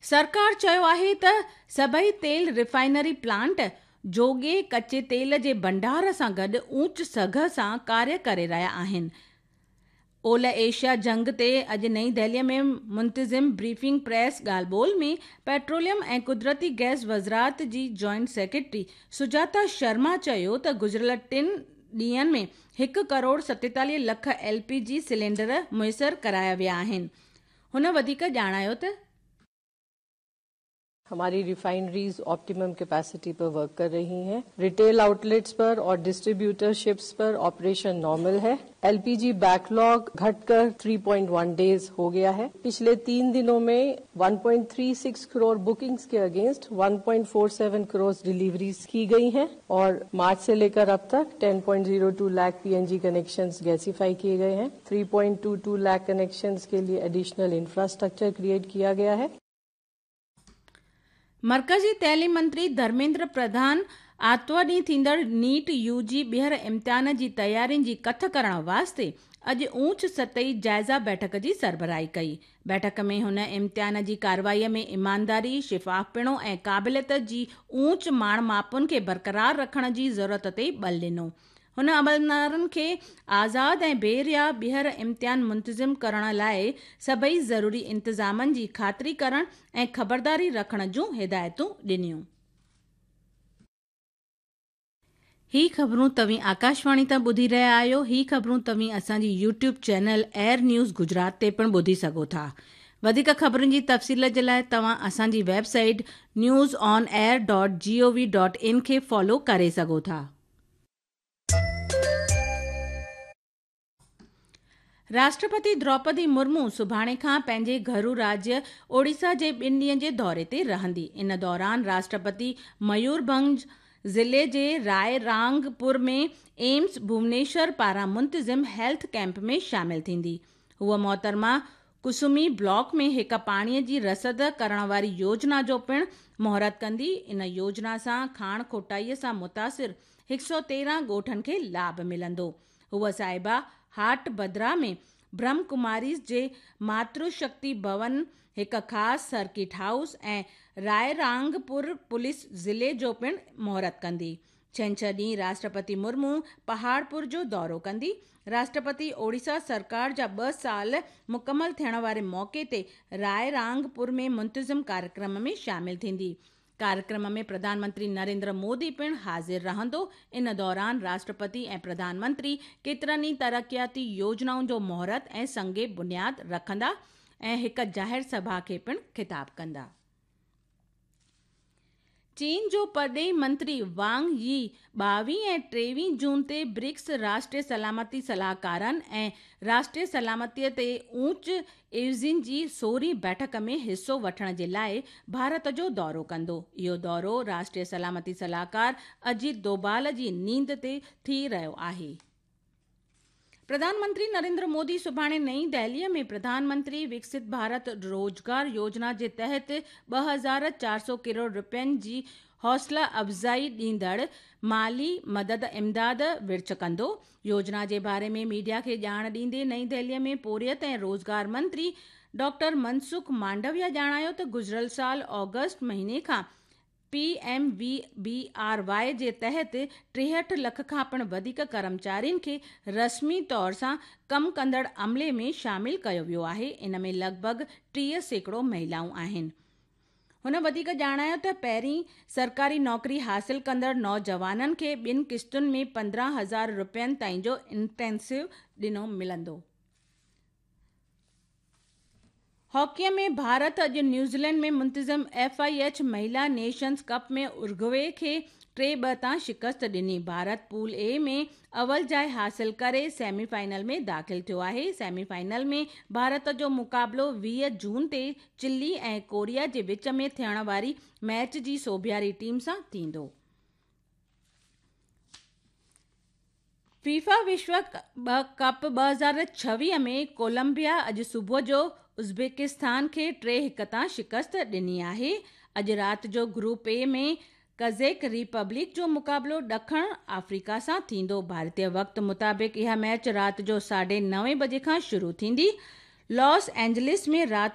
سرڪار چيو آهي ته سڀئي تيل ريفائنري پلانٽ جوڳي ڪچي تيل جي ڀنڊار سان گڏ اوچ سگهه سان ڪاريه ڪري رهيا آهن. اولهه ايشيا جنگ تي اڄ نئين دهلي ۾ منتظم بريفنگ پريس ڳالهه ٻولهه ۾ پيٽروليم ۽ قدرتي گئس وزارت جي جوائنٽ سيڪريٽري سجاتا شرما چيو ته گذريل ٽن ڏينهن ۾ هڪ ڪروڙ 47 لک ايل پي جي سلينڊر ميسر ڪرايا ويا آهن. هن وڌيڪ ڄاڻايو ته. हमारी रिफाइनरीज ऑप्टिमम कैपेसिटी पर वर्क कर रही हैं। रिटेल आउटलेट्स पर और डिस्ट्रीब्यूटरशिप्स पर ऑपरेशन नॉर्मल है। एलपीजी बैकलॉग घटकर 3.1 डेज हो गया है। पिछले 3 दिनों में 1.36 करोड़ बुकिंग्स के अगेंस्ट 1.47 करोड़ डिलीवरीज की गई हैं और मार्च से लेकर अब तक 10.02 लाख पीएनजी कनेक्शंस गैसीफाई किए गए हैं। 3.22 लाख कनेक्शंस के लिए एडिशनल इंफ्रास्ट्रक्चर क्रिएट किया गया है। मर्कज़ी तइलीम मंत्री ڌرميندر پرڌان آتوار ڏينهن ٿيندڙ نيٽ يو جي ٻيهر امتحان جي تيارين جي ڪٿ ڪرڻ واسطي اڄ اوچ سطحي جائزه بيٺڪ جي سربراهي ڪئي. بيٺڪ ۾ هن امتحان جي ڪارروائي ۾ ايمانداري، شفافپڻو ۽ قابليت جي اوچ ماڻ ماپن کي برقرار رکڻ جي ضرورت تي ٻل ڏنو. هن عملدارن کي آزاد ۽ بي ريا ٻيهر امتحان منتظم ڪرڻ لاء سڀئي ضروري انتظامن جي خاطري ڪرڻ ۽ خبرداري رکڻ جون هدايتون ڏنيون. هي خبرون توهين آڪاشواڻي تان ٻڌي رهيا آهيو. هي خبرون توهين اسان جي YouTube channel air news Gujarat تي پڻ ٻڌي سگهو ٿا. وڌيڪ خبرن جي تفصيل جي لاء توهان اسان جي website news on air dot G O V dot in کي فالو ڪري سگهو ٿا. راشٽرپتي دروپدي مرمو سڀاڻي کان پنهنجي گهرو راجيه اوڙيسا جي ٻن ڏينهن جي دوري تي رهندي. ان دوران راشٽرپتي ميورڀنج ضلعي جي راء رانگپور ۾ ايمس ڀونيشور پاران منتظم هيلٿ ڪئمپ ۾ شامل ٿيندي. هوء محترمه ڪسمي بلاڪ ۾ هڪ پاڻي جي رسد ڪرڻ واري يوجنا جو پڻ مهورت ڪندي. ان يوجنا سان کاڻ کوٽائي سان متاثر 113 ڳوٺن کي لاڀ ملندو. هوء صاحبه هاٽ بدرا ۾ برهم ڪماريز جي ماتر شڪتي ڀون، هڪ خاص سرڪٽ هائوس ۽ رائرانگپور پوليس ضلعي جو پڻ مهورت ڪندي. ڇنڇر ڏينهن راشٽرپتي مرمو پهاڙپور جو دورو ڪندي. راشٽرپتي اوڙيسا سرڪار جا ٻه سال مڪمل ٿيڻ واري موقعي تي رائرانگپور ۾ منتظم ڪاريڪرم ۾ شامل ٿيندي. ڪاريڪرم ۾ پرڌان منتري نريندر مودي پڻ حاضر رهندو. ان دوران راشٽرپتي ۽ پرڌان منتري ڪيترن ئي ترقياتي يوجنائن جو مهورت ۽ سنگ بنياد رکندا ۽ هڪ ظاهر سڀا کي پڻ خطاب ڪندا. چين جو پرڏيهي منتري وانگ يي 22 ۽ 23 جون تي برڪس راشٽري سلامتي صلاحڪارن ۽ راشٽري سلامتي تي اوچ عيوضين جي سورهين بيٺڪ ۾ حصو وٺڻ جي لاء ڀارت جو دورو ڪندو. اهو دورو راشٽري سلامتي صلاحڪار اجيت دوڀال جي نينڍ تي ٿي رهيو آهي. پرڌان منتري نريندر مودي سڀاڻي نئين دهلي ۾ پرڌان منتري وڪست ڀارت روزگار يوجنا جي تحت 2400 ڪروڙ رپين جي حوصلا افزائي ڏيندڙ مالي مدد امداد ورڇ ڪندو. يوجنا جي باري ۾ ميڊيا کي ڄاڻ ڏيندي نئين دهلي ۾ پورهيت ۽ روزگار منتري ڊاڪٽر منسک مانڊويا ڄاڻايو ته گذريل سال آگسٽ مهيني کان P M V B R Y جي تحت 63 لک کان پڻ وڌيڪ ڪرمچارين کي رسمي طور سان ڪم ڪندڙ عملي ۾ شامل ڪيو ويو آهي، ان ۾ لڳ ڀڳ 30% مهلائون آهن. هن وڌيڪ ڄاڻايو ته پهرين سرڪاري نوڪري حاصل ڪندڙ نوجوانن کي ٻن قسطن ۾ 15,000 رپين تائين جو انٽينسو ڏنو ملندو. هاڪيء ۾ ڀارت اڄ نيوزيلينڊ ۾ منتظم ايف I H مهلا نيشنز ڪپ ۾ ارگوي کي 3-2 تان شڪست ڏني. ڀارت پول اي ۾ اول جاء حاصل ڪري سيمي فائنل ۾ داخل ٿيو آهي. سيمي فائنل ۾ ڀارت جو مقابلو 20 جون تي چلي ۽ ڪوريا جي وچ ۾ ٿيڻ واري ميچ جي سوڀياري ٽيم سان ٿيندو. فيفا وشو ڪپ 2026 ۾ ڪولمبيا اڄ صبح جو ازبڪستان کي 3-1 تان شڪست ڏني آهي. اڄ رات جو گروپ اي ۾ ڪزيڪ ريپبلڪ جو مقابلو ڏکڻ آفريڪا سان ٿيندو. ڀارتي وقت مطابق اها ميچ رات جو ساڍي نوين بجي کان شروع ٿيندي. لاس اينجلس ۾ رات.